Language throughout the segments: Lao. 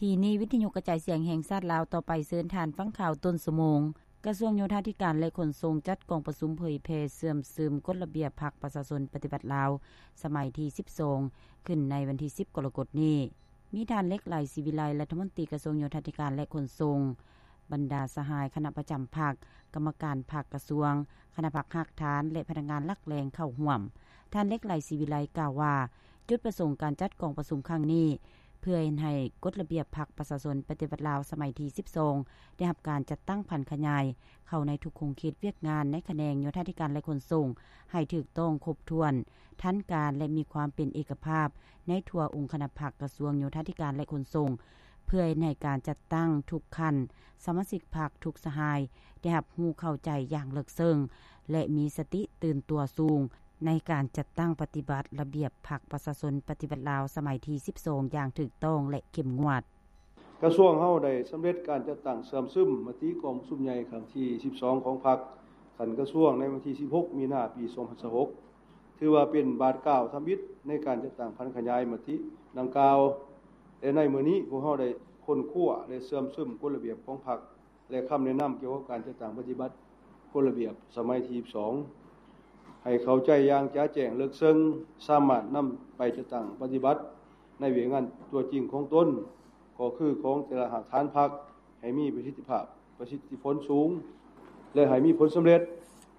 ທີ່ນີ້ ວິທະຍຸກະຈາຍສຽງແຫ່ງຊາດລາວ ຕໍ່ໄປເຊີນທ່ານຟັງຂ່າວຕົ້ນຊົ່ວໂມງ. ກະຊວງໂຍທາທິການ ແລະ ຂົນສົ່ງ ຈັດກອງປະຊຸມເຜີຍແຜ່ເຊື່ອມຊຶມກົດລະບຽບພັກປະຊາຊົນປະຕິວັດລາວ ສະໄໝທີສິບສອງ ຂຶ້ນໃນວັນທີສິບ ກໍລະກົດນີ້. ມີທ່ານ ເລັກ ໄຫຼ ສີວິໄລ ລັດຖະມົນຕີກະຊວງໂຍທາທິການ ແລະ ຂົນສົ່ງ, ບັນດາສະຫາຍຄະນະປະຈຳພັກ, ກຳມະການພັກກະຊວງ, ຄະນະພັກຮາກຖານ ແລະ ພະນັກງານຫຼັກແຫຼ່ງເຂົ້າຮ່ວມ. ທ່ານ ເລັກ ໄຫຼ ສີວິໄລ ກ່າວວ່າ ຈຸດປະສົງການຈັດກອງປະຊຸມຄັ້ງນີ້ ເພື່ອເຮັດໃຫ້ກົດລະບຽບພັກປະຊາຊົນປະຕິວັດລາວສະໄໝທີສິບສອງ ໄດ້ຮັບການຈັດຕັ້ງຜັນຂະຫຍາຍເຂົ້າໃນທຸກຂົງເຂດວຽກງານໃນຂະແໜງໂຍທາທິການ ແລະ ຂົນສົ່ງ ໃຫ້ຖືກຕ້ອງຄົບຖ້ວນ, ທັນການ ແລະ ມີຄວາມເປັນເອກະພາບໃນທົ່ວອົງຄະນະພັກກະຊວງໂຍທາທິການ ແລະ ຂົນສົ່ງ ເພື່ອເຮັດໃຫ້ການຈັດຕັ້ງທຸກຂັ້ນ, ສະມາຊິກພັກທຸກສະຫາຍ ໄດ້ຮັບຮູ້ເຂົ້າໃຈຢ່າງເລິກເຊິ່ງ ແລະ ມີສະຕິຕື່ນຕົວສູງ ໃນການຈັດຕັ້ງປະຕິບັດລະບຽບພັກປະຊາຊົນປະຕິວັດລາວສະໄໝທີສິບສອງ ຢ່າງຖືກຕ້ອງ ແລະ ເຂັ້ມງວດ. ກະຊວງເຮົາໄດ້ສຳເລັດການຈັດຕັ້ງເຊື່ອມຊຶມມະຕິກອງປະຊຸມໃຫຍ່ຄັ້ງທີສິບສອງຂອງພັກຂັ້ນກະຊວງໃນວັນທີສິບຫົກ ມີນາ ປີສອງພັນຊາວຫົກ ຖືວ່າເປັນບາດກ້າວທຳອິດໃນການຈັດຕັ້ງຜັນຂະຫຍາຍມະຕິດັ່ງກ່າວ ແລະ ໃນມື້ນີ້ພວກເຮົາໄດ້ຄົ້ນຄວ້າ ແລະ ເຊື່ອມຊຶມກົດລະບຽບຂອງພັກ ແລະ ຄຳແນະນຳກ່ຽວກັບການຈັດຕັ້ງປະຕິບັດກົດລະບຽບສະໄໝທີສິບສອງ ໃຫ້ເຂົ້າໃຈຢ່າງຈະແຈ້ງເລິກເຊິ່ງ, ສາມາດນຳໄປຈັດຕັ້ງປະຕິບັດໃນວຽກງານຕົວຈິງຂອງຕົນ, ກໍຄືຂອງແຕ່ລະຮາກຖານພັກ ໃຫ້ມີປະສິດທິພາບ, ປະສິດທິຜົນສູງ ແລະ ໃຫ້ມີຜົນສຳເລັດ,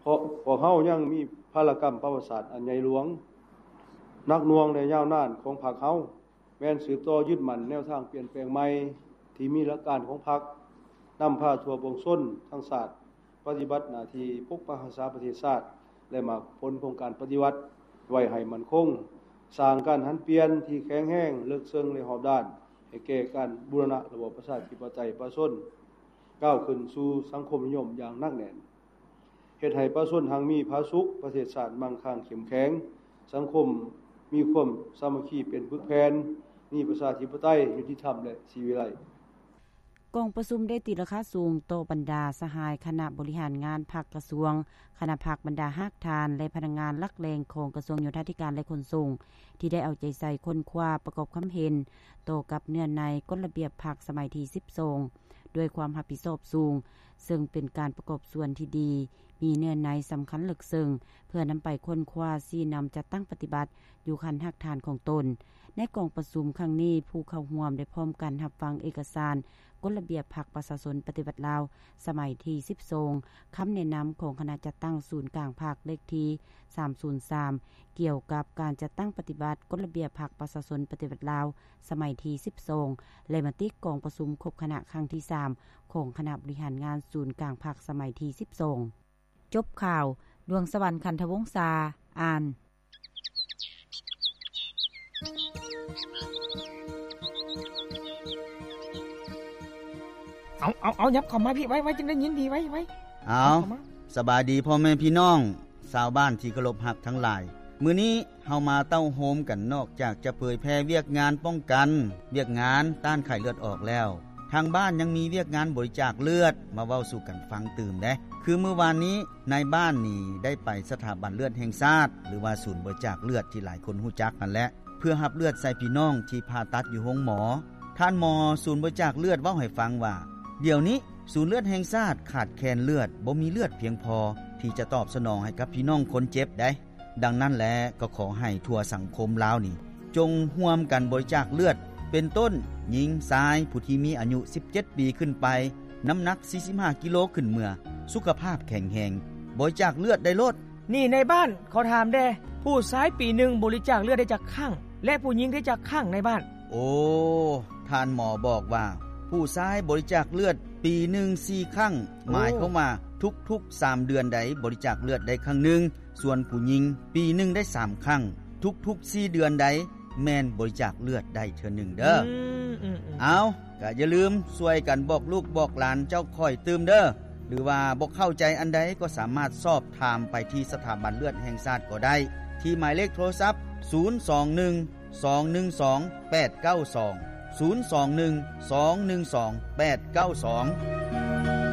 ເພາະພວກເຮົາຍັງມີພາລະກຳປະຫວັດສາດອັນໃຫຍ່ຫຼວງ, ໜັກໜ່ວງ ແລະ ຍາວນານຂອງພັກເຮົາ. ແມ່ນສືບຕໍ່ຍຶດໝັ້ນແນວທາງປ່ຽນແປງໃໝ່ທີ່ມີຫຼັກການຂອງພັກ, ນຳພາທົ່ວປວງຊົນທັງຊາດປະຕິບັດໜ້າທີ່ປົກປັກຮັກສາປະເທດຊາດ ແລະ ໝາກຜົນຂອງການປະຕິວັດໄວ້ໃຫ້ໝັ້ນຄົງ, ສ້າງການຫັນປ່ຽນທີ່ແຂງແຮງ, ເລິກເຊິ່ງ ແລະ ຮອບດ້ານ ໃຫ້ແກ່ການບູລະນະລະບອບປະຊາທິປະໄຕປະຊາຊົນ ກ້າວຂຶ້ນສູ່ສັງຄົມນິຍົມຢ່າງໜັກແໜ້ນ. ເຮັດໃຫ້ປະຊາຊົນຮັ່ງມີຜາສຸກ, ປະເທດຊາດມັ່ງຄັ່ງເຂັ້ມແຂງ, ສັງຄົມມີຄວາມສາມັກຄີເປັນປຶກແຜ່ນ, ມີປະຊາທິປະໄຕ, ຍຸຕິທຳ ແລະ ສີວິໄລ. ກອງປະຊຸມໄດ້ຕີລາຄາສູງຕໍ່ບັນດາສະຫາຍຄະນະບໍລິຫານງານພັກກະຊວງ, ຄະນະພັກ, ບັນດາຮາກຖານ ແລະ ພະນັກງານຫຼັກແຫຼ່ງຂອງກະຊວງໂຍທາທິການ ແລະ ຂົນສົ່ງ ທີ່ໄດ້ເອົາໃຈໃສ່ຄົ້ນຄວ້າປະກອບຄຳເຫັນຕໍ່ກັບເນື້ອໃນກົດລະບຽບພັກສະໄໝທີສິບສອງ ດ້ວຍຄວາມຮັບຜິດຊອບສູງ, ເຊິ່ງເປັນການປະກອບສ່ວນທີ່ດີ, ມີເນື້ອໃນສຳຄັນເລິກເຊິ່ງ ເພື່ອນຳໄປຄົ້ນຄວ້າຊີ້ນຳຈັດຕັ້ງປະຕິບັດຢູ່ຂັ້ນຮາກຖານຂອງຕົນ. ໃນກອງປະຊຸມຄັ້ງນີ້, ຜູ້ເຂົ້າຮ່ວມໄດ້ພ້ອມກັນຮັບຟັງເອກະສານກົດລະບຽບພັກປະຊາຊົນປະຕິວັດລາວ ສະໄໝທີສິບສອງ, ຄຳແນະນຳຂອງຄະນະຈັດຕັ້ງສູນກາງພັກເລກທີສາມສູນສາມ ກ່ຽວກັບການຈັດຕັ້ງປະຕິບັດກົດລະບຽບພັກປະຊາຊົນປະຕິວັດລາວ ສະໄໝທີສິບສອງ ແລະ ມະຕິກອງປະຊຸມຄົບຄະນະຄັ້ງທີສາມ ຂອງຄະນະບໍລິຫານງານສູນກາງພັກສະໄໝທີສິບສອງ. ຈົບຂ່າວ, ດວງສະຫວັນ ຂັນທະວົງສາ ອ່ານ. ເອົາ ເອົາ ເອົາ ຫຍັບເຂົ້າມາພີ້ ໄວໆ ຈຶ່ງໄດ້ຍິນດີ ໄວໆ ເອົາ ເຂົ້າມາ. ສະບາຍດີພໍ່ແມ່ພີ່ນ້ອງ ຊາວບ້ານທີ່ເຄົາລົບຮັກທັງຫຼາຍ, ມື້ນີ້ເຮົາມາເຕົ້າໂຮມກັນ ນອກຈາກຈະເຜີຍແຜ່ວຽກງານປ້ອງກັນ, ວຽກງານຕ້ານໄຂ້ເລືອດອອກແລ້ວ, ທາງບ້ານຍັງມີວຽກງານບໍລິຈາກເລືອດມາເວົ້າສູ່ກັນຟັງຕື່ມເດ້. ຄືມື້ວານນີ້ ນາຍບ້ານນີ້ໄດ້ໄປສະຖາບັນເລືອດແຫ່ງຊາດ ຫຼືວ່າສູນບໍລິຈາກເລືອດທີ່ຫຼາຍຄົນຮູ້ຈັກຫັ້ນແຫຼະ ເພື່ອຮັບເລືອດໃສ່ພີ່ນ້ອງທີ່ຜ່າຕັດຢູ່ໂຮງໝໍ. ທ່ານໝໍສູນບໍລິຈາກເລືອດເວົ້າໃຫ້ຟັງວ່າ ດຽວນີ້ສູນເລືອດແຫ່ງຊາດຂາດແຄນເລືອດ, ບໍ່ມີເລືອດພຽງພໍທີ່ຈະຕອບສະໜອງໃຫ້ກັບພີ່ນ້ອງຄົນເຈັບໃດ. ດັ່ງນັ້ນແຫຼະ ກໍຂໍໃຫ້ທົ່ວສັງຄົມລາວນີ້ ຈົ່ງຮ່ວມກັນບໍລິຈາກເລືອດ ເປັນຕົ້ນ ຍິງ, ຊາຍ, ຜູ້ທີ່ມີອາຍຸສິບເຈັດປີຂຶ້ນໄປ, ນ້ຳໜັກສີ່ສິບຫ້າກິໂລຂຶ້ນເມືອ, ສຸຂະພາບແຂງແຮງ, ບໍລິຈາກເລືອດໄດ້ໂລດ. ນີ້ນາຍບ້ານ ຂໍຖາມແດ່, ຜູ້ຊາຍປີໜຶ່ງບໍລິຈາກເລືອດໄດ້ຈັກຄັ້ງ ແລະ ຜູ້ຍິງໄດ້ຈັກຄັ້ງນາຍບ້ານ? ໂອ້ ທ່ານໝໍບອກວ່າ ຜູ້ຊາຍບໍລິຈາກເລືອດປີໜຶ່ງສີ່ຄັ້ງ, ໂອ້ ໝາຍຄວາມວ່າທຸກໆສາມເດືອນໃດບໍລິຈາກເລືອດໄດ້ຄັ້ງໜຶ່ງ, ສ່ວນຜູ້ຍິງປີໜຶ່ງໄດ້ສາມຄັ້ງ, ທຸກໆສີ່ເດືອນໃດແມ່ນບໍລິຈາກເລືອດໄດ້ເທື່ອໜຶ່ງເດີ້. ອືມ ອືມ ອືມ. ເອົາ ກະຢ່າລືມຊ່ວຍກັນບອກລູກບອກຫຼານເຈົ້າຂ້ອຍຕື່ມເດີ້. ຫຼືວ່າບໍ່ເຂົ້າໃຈອັນໃດກໍສາມາດສອບຖາມໄປທີ່ສະຖາບັນເລືອດແຫ່ງຊາດກໍໄດ້ ທີ່ໝາຍເລກໂທລະສັບ ສູນສອງໜຶ່ງ ສອງໜຶ່ງສອງ ແປດເກົ້າສອງ ສູນສອງໜຶ່ງ ສອງໜຶ່ງສອງ ແປດເກົ້າສອງ.